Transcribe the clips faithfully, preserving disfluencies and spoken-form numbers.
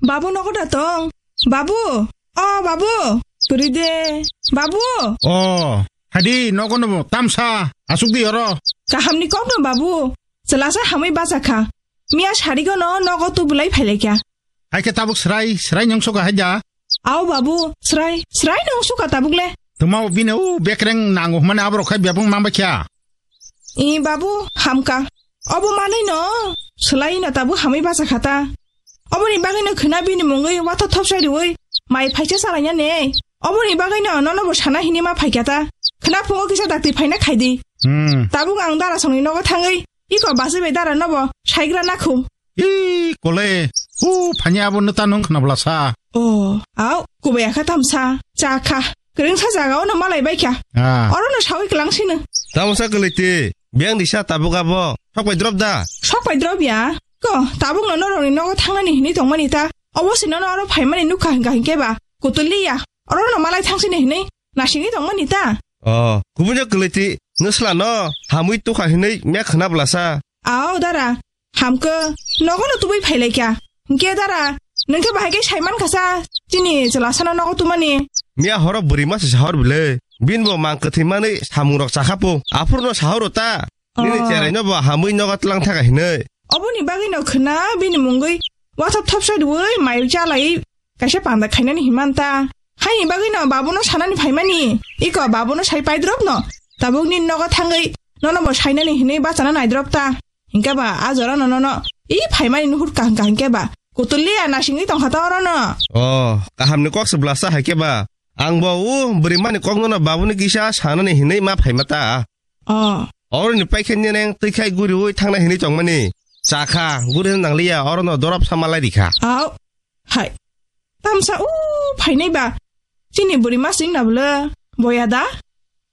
Babu nogo da tong? Babu! O babu! Kwrwi de! Babu! O, hadi nogo no tamsa asuk di oro. Kahamni kok no babu. Chwlasa hamwi bacha kha. Miya sarigo no nogo tubulai phailaikha. Hai khe tabuk srai, srai nung suka hai da? Ao babu, srai, srai nung suka tabuk le. Tuma o bini o bekreng nango hmani aborok khai bebung mang bakya. I babu, hamka. Obo manwi no, swlai no tabuk hamwi bacha khata. Oboni bagwi no khwna bini mungwi watho thopsai rwui mai phaisa chalaina ne. Oboni bagwi no nono bo sana hini ma phaikya ta. Khwna phungo kisa dakti phaina khaidi. Hmm. Tabuk ang dara songni nogo thangwi, iko basi bai dara nobo saigra nakhu. Ih, kole. U, phanya abo neta nung khna bwlasa. Oh, au, kubaya kha tamsa. Cha kha. Kwrwngsa jaga ono malai bai kha. Ah. Oro no sawi kwlang sino. Tamsa kwlwiti. Biyang disa tabuk abo. Sok pai drop da. Sok pai drop ya. Ko, tabuk no norok ni nogo thangnani hinwi tongmani ta. Obo si nono oro phaimani nukha hingka hinkhe ba. Kutuli ya. Oro no malai thang sini hinwi. Nasingwi tongmani ta. Oh, kubun jak kwlwiti. Nusla no. Hamwi tukha hinwi mya khna bwlasa. Ao dara. Hamkhe, nogo no tubui phailaikha. Hinkhe dara, nungkhe bahai khe saiman khasa, chini chwlasano nogo tumani. Miya horo bwrwi masa sahor bile. Bin bo mang kwthwi manwi samung rok chakhapo. Aphuru no sahoro ta. Nini Oh. Cherai no bo hamwi nogo tlang thaka hinwi. Oboni bagwi no khwna bini mungwi wathop thopsa rwui mai chalai kaisa panda khainani himanta. Haini bagwi no babuno sanani phaimani. Iko babuno sai paidrop no. Tabuk nini nogo thangwi nono bo sainani hinwi bachana naidrop ta. Hinkhe ba, a jora no nono. I phaimani nuhur kaham kaham khe ba. Kutuli a nasingwi tongkha ta oro no. Oh, kaham ni kok se blasa hai khe ba. Ang bo u bwrwi mani kok no no babu ni kisa sanani hinwi ma phaima ta. Oh. Oro ni paikhe ni neng twi khai guri ui thangna hinwi tongmani. Chakha, guri nang liya oro no dorop sama lai rikha. Au. Hai. Tamsa u phainai ba. Chini bwrwi masing na bwle. Boya da.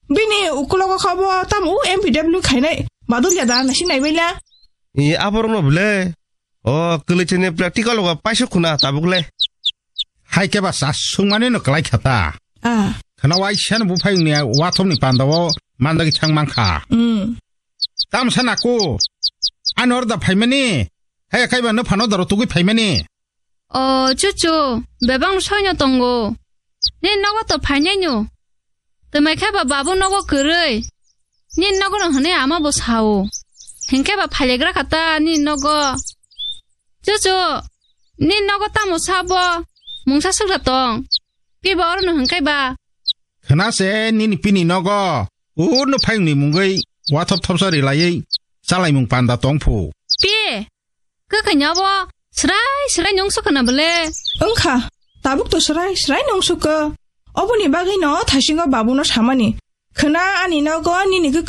Bini ukulogo kha bo tam u M P W khainai. Badul ya da nasi nai baila. I aborok no bwle. O kwlwi chini practical go paisuk khuna tabuk le. Hai khe ba sa sungmani no kwlai kha ta. Ah. Khana wai siyan bu phai ni wathom ni panda o mandagi thang mang kha. Mm. Tamsa naku. Ani orda phaimani. Hai kai ba no phano daro tugui phaimani. O chuchu, bebang soino tongo. Ni nogo to phainai no. Twmai khe ba babu nogo kwrwi. Ni nogo no hwnwi ama bo sao. Hinkhe ba phailegra kha ta ni nogo. Chuchu, ni nogo tamo sa bo. Mungsa sugra tong. Pi ba oro no hwnkai ba. Khna se nini pini nogo. Ur no phai ni mungwi wathop thopsa ri laiwi. Chalai mung panda tong phu. Pi. Kwkhwinyo bo srai srai nung sukha na bwle. Wngkha, tabuk to srai srai nung sukha. Oboni bagwi no thaisingo babuno samani. Khwna ani nogo nini khe